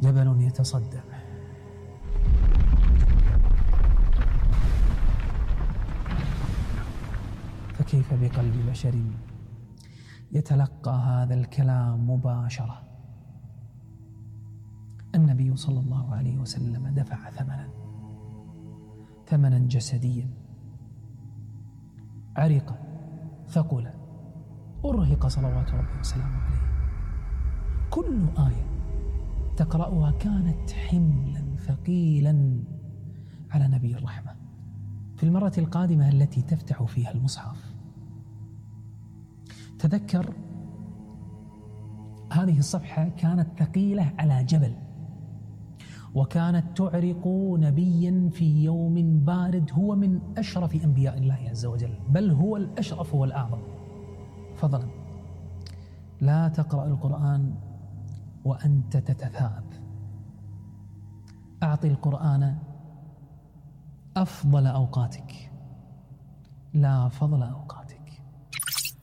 جبل يتصدع فكيف بقلب بشر يتلقى هذا الكلام مباشرة. النبي صلى الله عليه وسلم دفع ثمنا جسديا، عرق، ثقل، أرهق صلوات ربي وسلامه عليه. كل آية تقرأها كانت حملا ثقيلا على نبي الرحمة. في المرة القادمة التي تفتح فيها المصحف تذكر هذه الصفحة كانت ثقيلة على جبل، وكانت تعرق نبيا في يوم بارد هو من أشرف أنبياء الله عز وجل، بل هو الأشرف والأعظم فضلا. لا تقرأ القرآن وأنت تتثاءب، أعطي القرآن أفضل أوقاتك لا فضل أوقاتك.